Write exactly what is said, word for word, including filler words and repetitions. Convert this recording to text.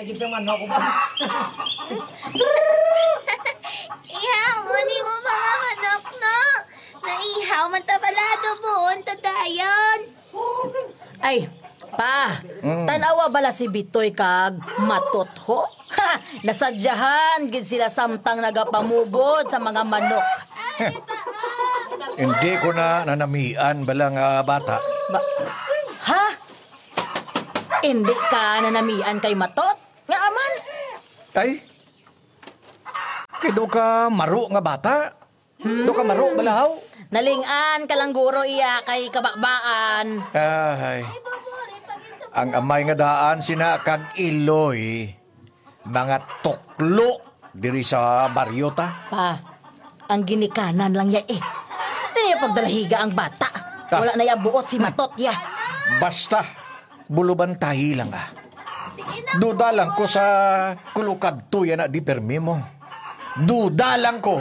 Lagi sa manok ko ba? Ihaw mo ni mo mga manok, no? Naihaw man ta pala, adobohon ta dayon. Ay, pa, Mm. Tanawa bala si Bitoy kag Matot ho? Ha! Nasadyahan gid sila samtang nagapamugod sa mga manok. Hindi ko na nanamian bala nga bata. Ba- ha? Hindi ka nanamian kay Matot? Nga aman? Ay? Kay do ka maro nga bata? Do ka maro bala, haw? Naling-an ka lang guro iya kay kababaan. Ay. Ang amay nga daan sina kag iloy, mga tuklo diri sa baryo ta. Pa, ang ginikanan lang ya eh. Di pagdalahiga ang bata. Ah. Wala na ya buot si Matot ya. Basta, bulubantayi lang ah. Duda lang ko sa kulukad tuya na di permi mo. Duda lang ko.